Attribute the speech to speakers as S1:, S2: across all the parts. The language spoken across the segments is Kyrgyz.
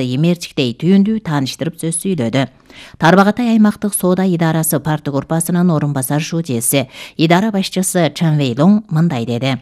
S1: эмерчиктей түйүндүү тааныштырып сөз сүйлөдү. Тарбагатай аймактык соода идарасы парты группасынын орун басар шүүжеси, идара башчысы Чан Вейлоң мындай деди.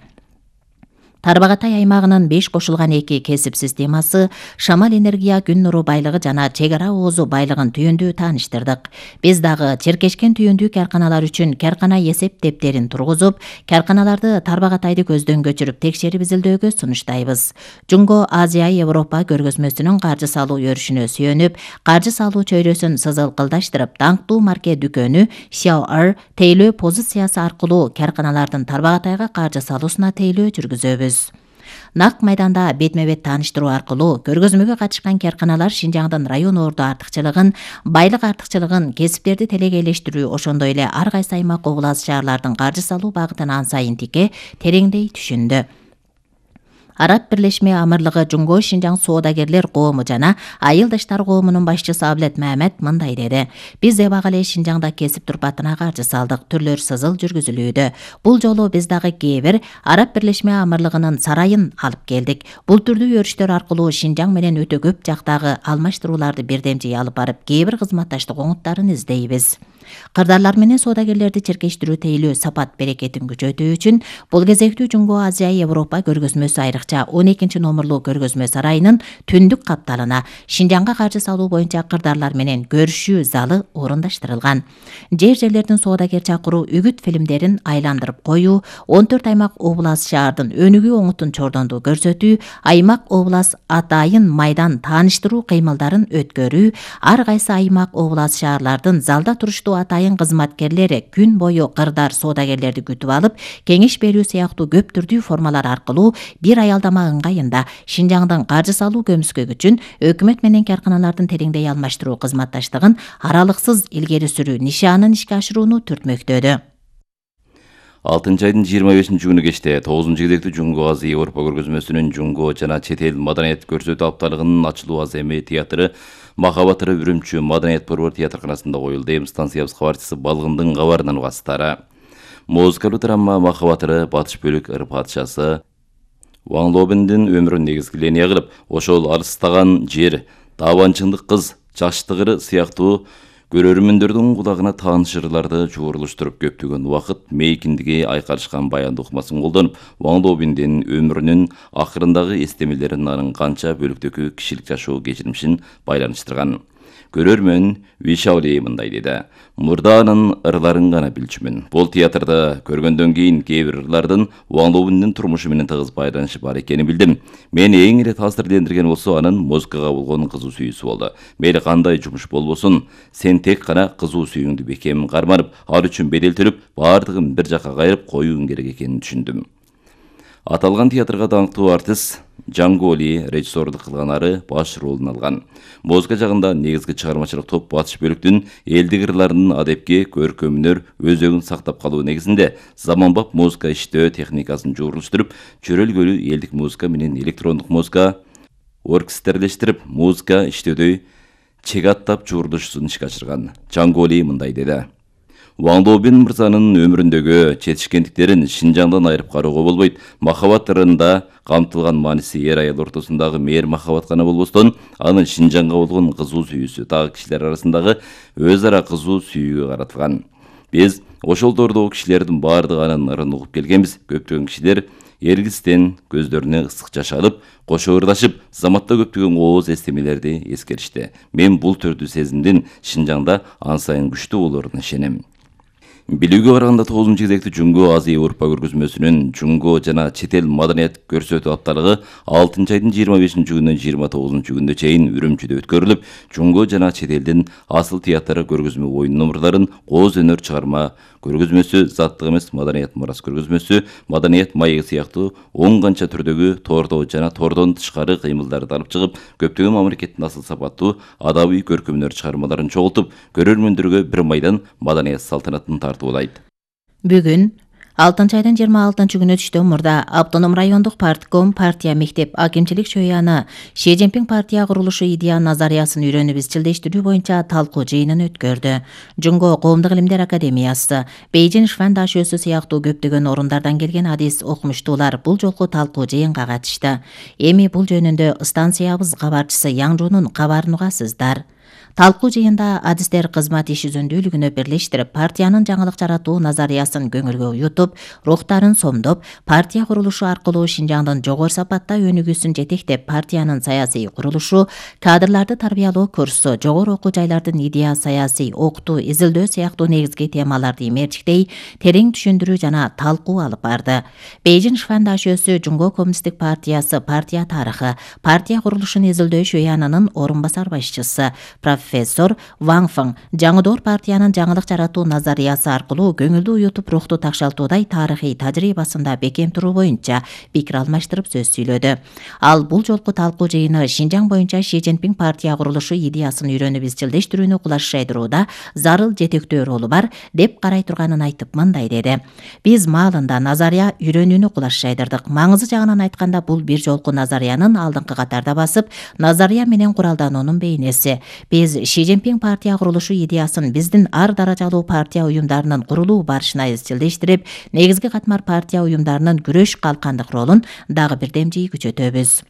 S1: Тарбагатай аймагынын 5 кошулган 2 кесип системасы, шамал энергия, күн нуру байлыгы жана чек ара оозу байлыгын түйүндүү тааныштырдык. Биз дагы черкешкен түйүндүү карканалар үчүн каркана эсеп дептерин тургузуп, карканаларды Тарбагатайды көздөн көчүрүп текшерип изилдөөгө сунуштайбыз. Жунго Азия Европа көргөзмөсүнүн каржы салуу өрүшүнө сүйөнүп, каржы салуу чөйрөсүн сызылкылдаштырып, даңктуу марке дүкөнү Xiao'er тейлөө позициясы аркылуу карканалардын Тарбагатайга каржы салуусуна тейлөө жүргүзөбүз. Нак майданда бетме-бет тааныштыруу аркылуу көргөзмөгө катышкан карканалар Шинжаңдын район орду артыкчылыгын, байлык артыкчылыгын, кесиптерди телегейлештирүү, ошондой эле ар кайсы аймак облас шаарлардын каржы салуу багытын ансайын тике тереңдей түшүндү. Араб Бирлешме Амырлыгы Жунго Шинжаң соодагерлер коому жана айылдаштар коомунун башчысы Аблет Мамед мындай деди. Биз эбак эле Шинжаңда кесип турпатына каржы салдык, түрлөр сызыл жүргүзүлүүдө. Бул жолу биз дагы кээ-бир Араб Бирлешме Амырлыгынын сарайын алып келдик. Бул түрдүү өрүштөр аркылуу Шинжаң менен өтө көп жактагы алмаштырууларды бирдемчей алып барып, кээ-бир кызматташтык оңуттарын издейбиз. Кырдаарлар менен соодагерлерди черкештирүү, тейлөө, сапат берекетин күчөтүү үчүн бул кезектүү Жунго Азия Европа көргөзмөсү айрыкча 12 номерлуу көргөзмө сарайынын түндүк капталына Шинжаңга каржы салуу боюнча кырдаарлар менен көрүшүү залы орундаштырылган. Жер-жерлердин соодагер чакыруу, үгүт фильмдерин айландырып коюу, 14 аймак облас шаардын өнүгүү оңутун чордондуу көрсөтүү, аймак облас атайын майдан тааныштыруу кыймылдарын өткөрүү, ар кайсы аймак облас шаарлардын залда туруштуу атайын кызматкерлери күн бою кырдар соодагерлерди күтүп алып, кеңеш берүү сыяктуу көп түрдүү формалар аркылуу бир аялдама ыңгайында Шинжаңдын каржы салуу көмүскөгүчүн өкмөт менен карканалардын тереңдей алмаштыруу кызматташтыгын аралыксыз илгери сүрүү нишаанын ишке ашырууну түртмөктөдү.
S2: 6 айдын 25-күнү кечте 9-кезектүү Жунго Азия Европа көргөзмөсүнүн Жунго жана чет эл маданият көрсөтүү апталыгынын ачылуу аземи театры Махабат ыры Үрүмчү Маданият борбор театрканасында коюлду. Эми станциябыз кабарчысы Балгындын кабарынан угасыздар. Музыкалуу драма Махабат ыры Батыш бөлүк ыр падышасы Ван Лобендин өмүрүн негизги линия кылып, ошол алыстаган жер, таабанчындык кыз, жаштык ыры сыяктуу көрөрмөндөрдүн кулагына тааныш ырларды жуурулуштуруп көптөгөн убакыт мейкиндиги айкалышкан баяндоо ыкмасын колдонуп, Ван Лобендин өмүрүнүн акырындагы эстемелерин, анын канча бөлүктөгү кишилик жашоо кечирмишин байланыштырган. Көрөрмөн Вишаули мындай деди. Мурда анын ырларын гана билчүмүн. Бул театрда көргөндөн кийин кээ бир ырлардын Ван Лобендин турмушу менен тыгыз байланышы бар экенин билдим. Мени эң эле таасирлендирген болсо анын музыкага болгон кызуу сүйүүсү болду. Мейли кандай жумуш болбосун, сен тек гана кызуу сүйүүңдү бекем карманып, ал үчүн бедел төлөп, баардыгын бир жакка кайрып коюуң керек экенин түшүндүм. Аталган театрга даңктуу артист Джанго Ли режиссерлук кылган, ары баш ролун алган. Музыка жагында негизги чыгармачылык топ Батыш бөлүктүн элдик ырларынын адепке көркөмүнөр өзөгүн сактап калуу негизинде заманбап музыка иштөө техникасын жуурулуштуруп, чөрөлгөлүү элдик музыка менен электрондук музыка оркестрлештирип, музыка иштөөдө чек аттап жуурулушун ишке ашырган. Джанго Ли мындай деди. Ван Лобен мырзанын өмүрүндөгү четишкендиктерин Шинжаңдан айырып кароого болбойт. Махабат ырында камтылган мааниси эр аял ортосундагы мээр махабат гана болбостон, анын Шинжаңга болгон кызуу сүйүүсү дагы кишилер арасындагы өз ара кызуу сүйүүгө каратылган. Биз ошол дордогу кишилердин баардыгы анын ырын угуп келгенбиз. Көптөгөн кишилер эргистен көздөрүнө ысык жаш алып, кошо ырдашып, заматта көптөгөн ооз эстемелерди эскеришти. Мен бул түрдүү сезимдин Шинжаңда ансайын күчтүү болоруна ишенем. Билүүгө караганда 9-кезектүү Жунго Азия Европа көргөзмөсүнүн Жунго жана чет эл маданият көрсөтүү апталыгы 6 айдын 25-күнүнөн 29-күнүнө чейин Үрүмчүдө өткөрүлүп, Жунго жана чет элдин асыл театры көргөзмө оюн номурларын, кооз өнөр чыгарма көргөзмөсү, заттык эмес маданият мурас көргөзмөсү, маданият маеги сыяктуу 10 канча түрдөгү тордо жана тордон тышкары кыймылдарды алып чыгып, көптөгөн мамлекеттин асыл сапаттуу адабий көркөмөнөр чыгармаларын чогултуп, көрөрмөндөргө бир майдан маданият салтанатын тартуулайт.
S1: Бүгүн 6 айдын 26-күнү түштөн мурда Автоном райондук партком партия мектеп акимчилик чөйяны Ши Цзиньпин партия курулушу идея назариясын үйрөнүп изчилдештирүү боюнча талкуу жыйынын өткөрдү. Жунго коомдук илимдер академиясы, Бейжин Шван дашөөсү сыяктуу көптөгөн орундардан келген адис окумуштуулар бул жолку талкуу жыйынга катышты. Эми бул жөнүндө станциябыз кабарчысы Яң Жунун кабарын угасыздар. Талкуу жыйында адистер кызмат иш үзүндүүлүгүнө бирлештирип, партиянын жаңылык жаратуу назариясын көңүлгө уютуп, рухтарын сомдоп, партия курулушу аркылуу Шинжаңдын жогору сапатта өнүгүүсүн жетектеп, партиянын саясий курулушу, кадрларды тарбиялоо курсу, жогору окуу жайлардын идея саясий окутуу, изилдөө сыяктуу негизги темаларды имертиктей, терең түшүндүрүү жана талкуу алып барды. Бейжин Шван дашөөсү Жунго коммунисттик партиясы партия тарыхы, партия курулушун изилдөө шөянынын орун басар башчысы профессор Ван Фeng жаңыдоор партиянын жаңылык жаратуу назариясы аркылуу көңүлдү уютуп, рухту такшалтуудай тарыхый тажрыйбасында бекем туруу боюнча пикир алмаштырып сөз сүйлөдү. Ал бул жолку талкуу жыйыны Шинжаң боюнча Ши Цзиньпин партия курулушу идеясын үйрөнүп изчилдештирүүнү кулашайдырууда зарыл жетектөө ролу бар деп карай турганын айтып мындай деди. Биз маалында назария үйрөнүүнү кулашайдырдык. Маңызы жагынан айтканда бул бир жолку назариянын алдыңкы катарда басып, назария менен куралдануунун бейнеси. Биз Ши Цзиньпин партия курулушу идеясын биздин ар даражалуу партия уюмдарынын курулуу барышына изчилдештирип, негизги катмар партия уюмдарынын күрөш калкандык ролун дагы бирдемжий күчөтөбүз.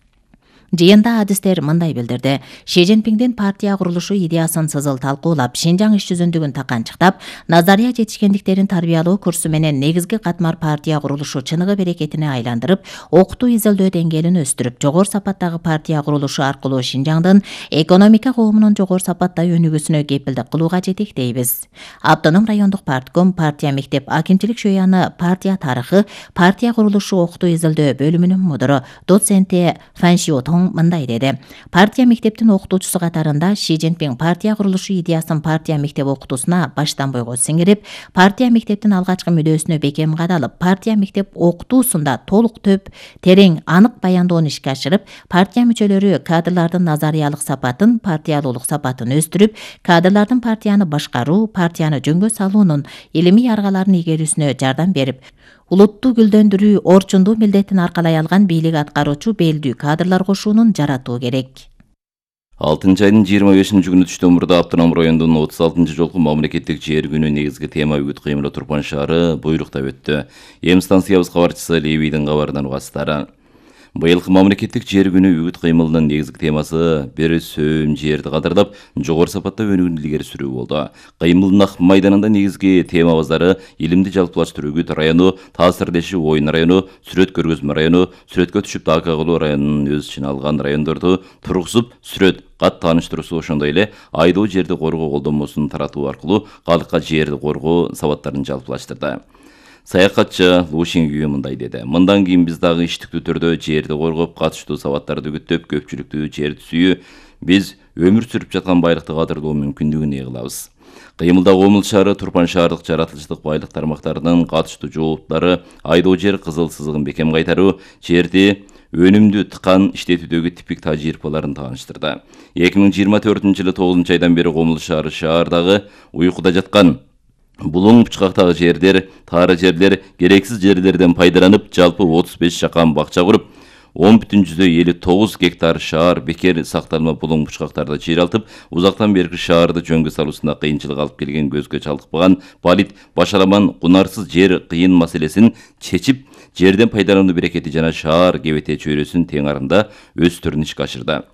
S1: Жыйында адистер мындай билдирди. Ши Цзиньпиндин партия курулушу идеясын сызыл талкуулап, Шинжаң иш жүзүндүгүн таканчыктап, назария жетишкендиктерин тарбиялоо курсу менен негизги катмар партия курулушу чыныгы берекетине айландырып, окутуу изилдөө деңгээлин өстүрүп, жогору сапаттагы партия курулушу аркылуу Шинжаңдын экономика коомунун жогору сапатта өнүгүүсүнө кепилдик кылууга жетектейбиз. Автоном райондук партком партия мектеп акимчилик чөйяны партия тарыхы, партия курулушу окутуу изилдөө бөлүмүнүн мудуру доценти Фан Шиотон мындай деди. Партия мектептин окутуучусу катарында Ши Цзиньпин партия курулушу идеясын партия мектеп окутуусуна баштан бойго сиңирип, партия мектептин алгачкы мүдөөсүнө бекем кадалып, партия мектеп окутуусунда толук төп, терең, анык баяндоону ишке ашырып, партия мүчөлөрү кадрлардын назариялык сапатын, партиялуулук сапатын өстүрүп, кадрлардын партияны башкаруу, партияны жөнгө салуунун илимий аргаларын игерүүсүнө жардам берип, улутту гүлдөндүрүү, орчундуу милдетин аркалай алган бийлик аткаруучу белдүү кадрлар кошуунун жаратуу керек.
S2: 6-айдын 25-күнү түштөн мурда Автоном районунун 36-жолку мамлекеттик жер күнү негизги тема үгүт кыймылы Турпан шаары буйруктап өттү. Эми станциябыз кабарчысы Левийдин кабарынан угасыздар. Быйылкы мамлекеттик жер күнү үгүт кыймылынын негизги темасы бир сөөм жерди кадырлап, жогору сапатта өнүгүүнү илгери сүрүү болду. Кыймылдын ак майданында негизги темабыздары илимди жалпылаштыруу үгүт району, таасирлешүү оюн району, сүрөт көргөзмө району, сүрөткө түшүп така кылуу районунун өз ичине алган райондорду тургузуп, сүрөт кат тааныштыруусу, ошондой эле айдоо жерди коргоо колдонмосун таратуу аркылуу калкка жерди коргоо сабаттарын жалпылаштырды. Саякатчы Лу Шингюэ мындай деди. Мындан кийин биз дагы иштиктүү түрдө жерди коргоп, катыштуу сабаттарды үгүттөп, көпчүлүктүү жерди сүйүү, биз өмүр сүрүп жаткан байлыкты кадырлоо мүмкүндүгүн кылабыз. Кыймылда Комул шаары, Турпан шаардык жаратылыштык байлык тармактарынын катыштуу жооптары, айдоо жер кызыл сызыгын бекем кайтаруу, жерди өнүмдүү тыкан иштетүүдөгү типик тажрыйбаларын тааныштырды. 2024-жылы 9-айдан бери Комул шаардагы уйкуда жаткан булуң бучкактагы жерлер, таары жерлер, керексиз жерлерден пайдаланып, жалпы 35 жакан бакча куруп, 10,59 гектар шаар бекер сакталма булуң бучкактарды жыйралтып, узактан берки шаарды жөнгө салуусунда кыйынчылык алып келген көзгө чалыкпаган балит башаламан кунарсыз жер кыйын маселесин чечип, жерден пайдалануу берекети жана шаар кебете чөйрөсүн тең арында өз түрүн ишке ашырды.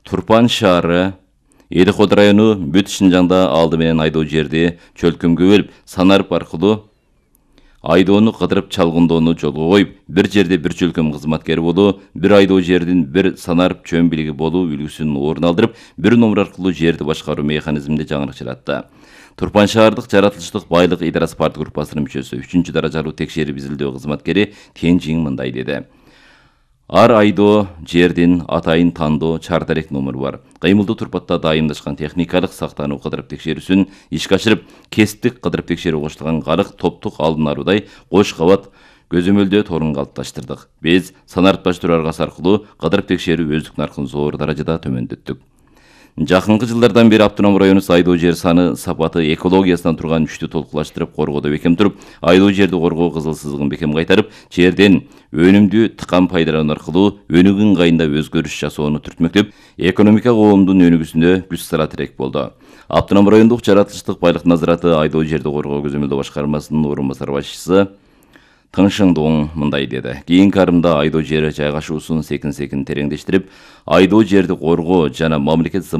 S2: Турпан шаары Элиход району бүт Шинжаңда алды менен айдоо жерди чөлкөмгө бөлүп, санарып аркылуу айдоону кыдырып чалгындоону жолго коюп, бир жерде бир чөлкөм кызматкери болуу, бир айдоо жердин бир санарып чөм билиги болуу үлгүсүн орун алдырып, бир номер аркылуу жерди башкаруу механизминде жаңырык жаратты. Турпан шаардык жаратылыштык байлык идарасы парт группасынын мүчөсү, 3-даражалуу текшерип изилдөө кызматкери Тенжиң мындай деди. Ар айдоо жердин атайын тандоо чартарек номеру бар. Кыймылдуу турпатта дайымдашкан техникалык сактануу кыдырып текшерүүсүн ишке ашырып, кесиптик кыдырып текшерүү коштулган карык топтук алдын алуудай кош кабат көзөмөлдөө торун калыпташтырдык. Биз санарыпташтыруу аргасы аркылуу кыдырып текшерүү өздүк наркын зор даражада төмөндөттүк. Жакынкы жылдардан бери Автоном району айдоо жер саны, сапаты, экологиясынан турган күчтү толкулаштырып коргоодо бекем туруп, айдоо жерди коргоо кызыл сызыгын бекем кайтарып, жерден өнүмдүү тыкан пайдалануу аркылуу өнүгүү ыңгайында өзгөрүш жасоону түртмөктөп, экономика коомдун өнүгүүсүнө күч сала тирек болду. Автоном райондук жаратылыштык байлык назараты айдоо жерди коргоо көзөмөлдөө башкармасынын орун басар башчысы Тыңшыңдуң мындай деди. Кийинки арымда айдоо жери жайгашуусун секин-секин тереңдештирип, айдоо жерди коргоо жана мамлекет зымын